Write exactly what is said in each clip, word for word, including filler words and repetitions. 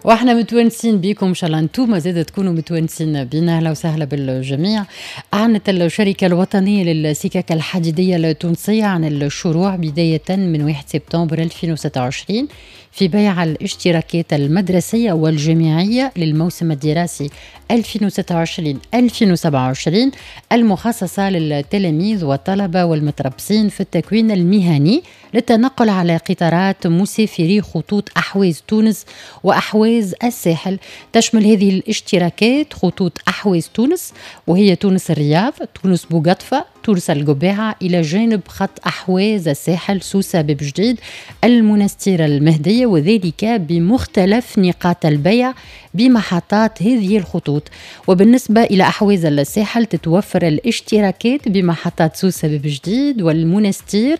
واحنا متونسين بكم، ان شاء الله انتم زاد تكونوا متونسين بنا. اهلا وسهلا بالجميع. اعلنت الشركة الوطنية للسكك الحديدية التونسية عن الشروع بداية من واحد سبتمبر ألفين وستة وعشرين في بيع الاشتراكات المدرسية والجامعيه للموسم الدراسي ألفين وستة وعشرين ألفين وسبعة وعشرين المخصصة للتلاميذ والطلبة والمتربصين في التكوين المهني للتنقل على قطارات مسافري خطوط أحواز تونس وأحواز الساحل. تشمل هذه الاشتراكات خطوط أحواز تونس وهي تونس الرياض، تونس بوقطفة، تونس القباعة، إلى جانب خط أحواز الساحل سوسة باب جديد المنستير المهدية، وذلك بمختلف نقاط البيع بمحطات هذه الخطوط. وبالنسبة إلى أحواز الساحل تتوفر الاشتراكات بمحطات سوسة باب جديد والمنستير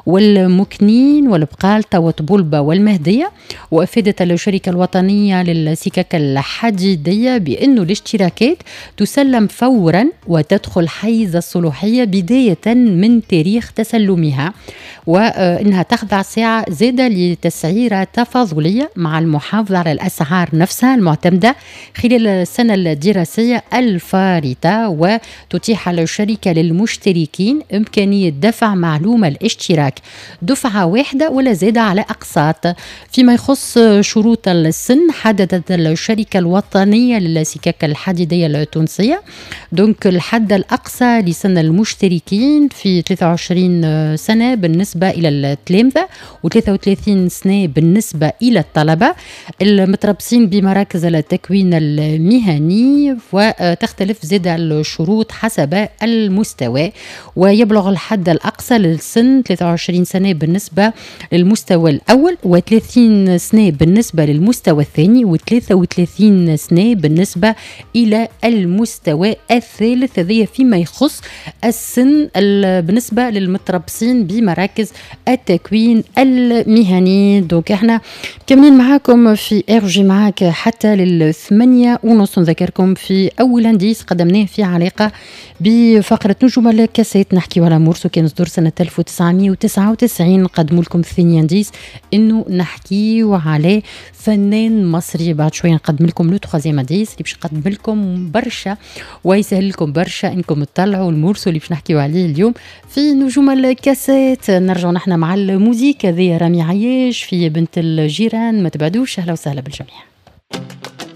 والمكنين والبقالطة وطبلبة والمهدية. وأفادت الشركة الوطنية للسكك الحديدية بأن الاشتراكات تسلم فورا وتدخل حيز الصلاحية بداية من تاريخ تسلمها، وإنها تخضع ساعة زادة لتسعيرة تفاضلية مع المحافظة على الأسعار نفسها المعتمدة خلال السنة الدراسية الفارطة. وتتيح الشركة للمشتركين إمكانية دفع معلومة الاشتراك دفعة واحدة ولا زادة على أقساط. فيما يخص شروط السن، حددت الشركة الوطنية للسكك الحديدية التونسية donc الحد الأقصى لسن المشتركين في ثلاثة وعشرين سنة بالنسبة إلى التلامذة، وثلاثة وثلاثين سنة بالنسبة إلى الطلبة المتربصين بمراكز التكوين المهني. وتختلف زاد الشروط حسب المستوى، ويبلغ الحد الأقصى للسن ثلاثة وعشرين سنة بالنسبة للمستوى الأول، وثلاثين سنة بالنسبة للمستوى الثاني، وثلاثة وثلاثين سنة بالنسبة إلى المستوى الثالث. هذه فيما يخص السن بالنسبة للمتربصين بمراكز التكوين المهني. donc احنا كاملين معاكم في RJ معاك حتى للثمانية ونص. نذكركم في أول indice قدمناه في علاقة بفقرة نجوم الكاسيت، نحكي على morceau كان صدر سنة ألف وتسعمية وتسعة وتسعين. نقدموا لكم ثاني indice انه نحكيو على فنان مصري. بعد شوية نقدم لكم le troisième indice اللي باش نقدم لكم برشا ويسهل لكم برشا انكم تطلعوا ال morceau اللي باش نحكيو عليه اليوم في نجوم الكاسيت. نرجعوا نحن مع ال musique هذه رامي عياش في بنت الجيران، ما تبعدوش. اهلا وسهلا بالجميع.